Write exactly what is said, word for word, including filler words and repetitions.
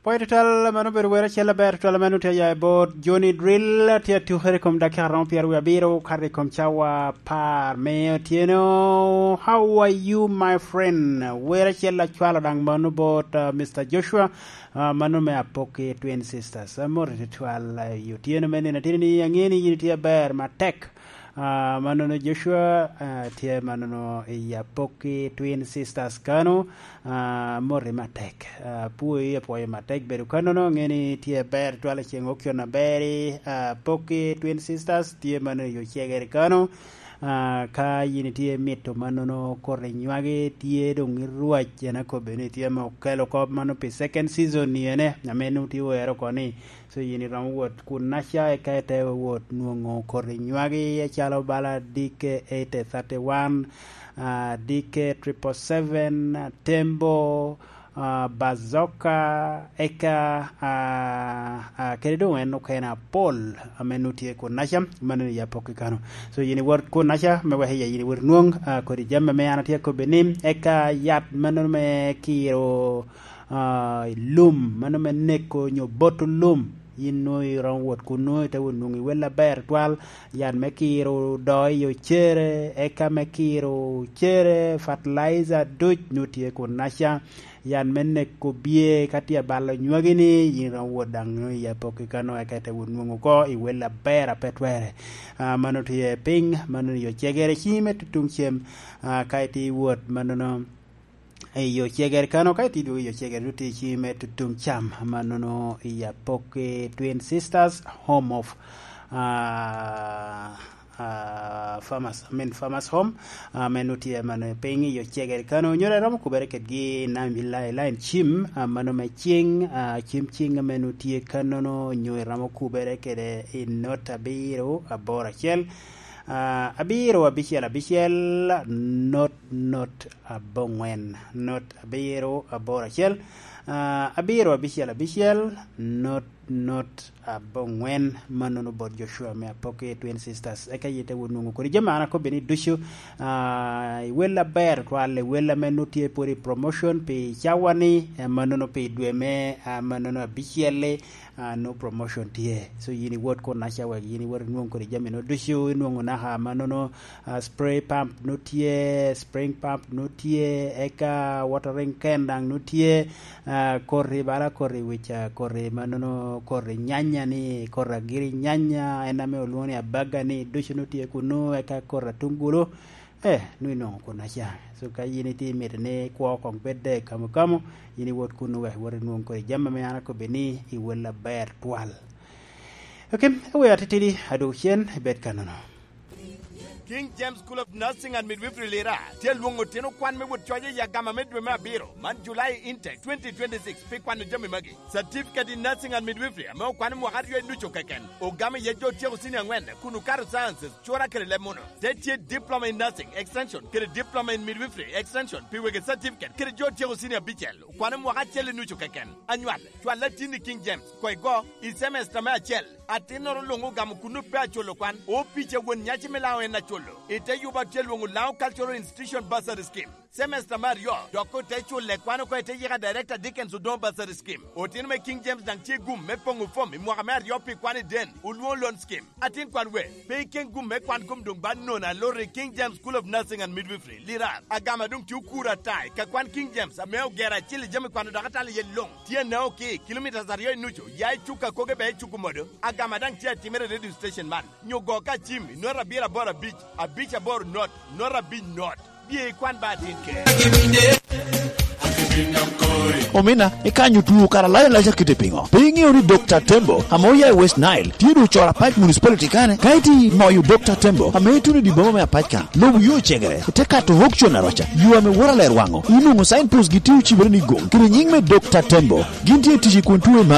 Pwoyo tutwal, mano obedo wer acel aber tutwal ame onwoŋo tye aya i bot Johnny Drill, tye atukere i kom dakika romo pyeraryo abiro okato i kom cawa apar me otyeno. How are you, my friend? Wer acel acwalo daŋ mano bot, ah, Mister Joshua, ah, mano me Apoki Twin Sisters. Amoti tutwal, ah, i otyeno me nino ateni ni, aŋeo ni yin itye aber matek. Ah, mannono Joshua, ah, tye mannono i Apoki Twin Sisters kano, ah, moti matek. Ah, apwoyi, apwoyo matek bedo kannono, aŋeo ni tye aber twal i ceŋ okcon aber i, ah, Apoki Twin Sisters, tye mannono i Ocegere kano. Ah, ka yin itye mito mannono koti nywagi, tye doŋ i rwac, en akobbe ni tye ame okelo kop mano pi second season ni ene, ame nwoŋo tye owero oko ni, So yin iromo wot kunnaca, eka ite wot nwoŋo koti nywagi acalo bala D K eight thirty-one, ah, D K triple seven, Tembo, ah, Bazooka, eka, ah, ah, kede doŋ en okene apol ame nwoŋo tye kunnaca, mano i Apoki kano. So yin iwot kunnaca, me wek iya yin iwot nwoŋ, ah, kodi jami ame an atye akobbi ni, eka yat mano me kiro ah, i lum, mano me neko nyo boto lum, yin nwoŋo iromo wot kun nwoŋo ite wot nwoŋo i wel aber twal, yat me kiro doo i ocere, eka me kiro ocere, fertilizer duc nwoŋo tye kunnaca, yat me neko bye ka tye abalo nywagi ni, yin iromo wot daŋ nwoŋo i Apoki kano, eka ite wot nwoŋo oko i wel aber a pe twere. Ah, mano tye piny, mano i Ocegere, cim me tutuŋ cem, ah, ka itye i wot, manono, i Ocegere kano, ka itye idwogo i Ocegere, nwoŋo tye i cim me tutuŋ cam, amannono i Apoki Twin Sisters, home of, ah, ah, farmers, I mean, farmers home, ah, ame nwoŋo tye amannono piny i Ocegere kano, nyoro iromo kubere kedgi i nam, i la-, i line cim, ah, mano me cing, ah, cim cing ame nwoŋo tye kannono, nyo iromo kubere kede i not abiro, aboro acel, ah, abiro, abicel, abicel, not not aboŋwen, not abiro aboro acel, ah, abiro abicel abicel, not not aboŋwen, mannono bot Joshua me Apoki Twin Sisters. Eka yite wun nwoŋo kodi jami an akobbi ni ducu, ah, i wel aber twal, i wel ame nwoŋo tye pwod i promotion pi cawa ni, eh, mannono pi dwe me, ah, mannono abicel-li, ah, nwoŋo promotion tye. So yin iwot kunnaca wek yin iwot inwoŋ kodi jami nwoŋo ducu, inwoŋo naka mannono, ah, spray pump nwoŋo tye, spring pump nwoŋo tye, eka watering can daŋ nwoŋo tye, ah, koti bala koti wic, ah, koti mannono koti nyanya ni, koti agiri nyanya, en ame olwoŋo ni abaga ni, ducu nwoŋo tye kunnu, eka koti atungulu, eh, nwoŋo inwoŋo kunnaca. So ka yin itye imito ni kwo koŋ bed de kamo kamo, yin iwot kunnu wek iwot inwoŋ kodi jami ame an akobbi ni i wel aber twal. Ok, awer atitidi, adwogo cen, ibed kannono. King James School of Nursing and Midwifery Lira tye alwoŋo otino kwan me wot coc i agama me dwe me abiro man, July intake twenty twenty-six, pi kwano jami magi. Certificate in Nursing and Midwifery ame okwano mwaka aryo i nucu keken, ogamo iye jo otyeko cini aŋwen kun okato sciences, cura kede leb muno. Te tye Diploma in Nursing Extension kede Diploma in Midwifery Extension pi wegi certificate kede jo otyeko cini abicel, okwano mwaka acel i nucu keken. Anywal, cwal atin i King James, koŋ igo i cemesta me acel. Atinnoro luŋ ogamo kun ope aculo kwan, opic a won nyaci me Laŋo en aculo. I te yuba tye lwoŋo Laŋo Cultural Institution Bursary Scheme. Semester me aryo, dok ote culle kwan oko i te yika Director Dickens Odongo Bursary Scheme. Otino me King James daŋ tye gum me poŋo fom i mwaka me aryo pi kwan i den, olwoŋo loan scheme. Atin kwan we, pe iken gum me kwan kom doŋ ba nono aloro i King James School of Nursing and Midwifery, Lirar. Agama doŋ tye okuro ata i ka kwan King James ame ogero acil i jami kwano dok atalo iye luŋ. Tye Naoki, kilometres aryo i nucu, ya i Cuka Koge bea i Cuku Modo. Agama daŋ tye atimere i radio station man. Nyo go ka cim i not abiro aboro abic, abic aboro not, not abic not. Bye ikwan ba atin kere. Omina, ikanyo tuo kara lac alac akite piŋo? Pe iŋeo ni Dokta Tembo, ame oya i West Nile, tye doŋ ocoro apac municipality kane? Ka iti moyo Dokta Tembo, ame ituno i dye boma me apac ka, lobo yo cegere, ite kato Hokcon aroca, yo ame woto aler waŋo, inwoŋo signpost gi tye ocibere ni gom, kede nyiŋ me Dokta Tembo. Gin tye i tic i kun tuo i mag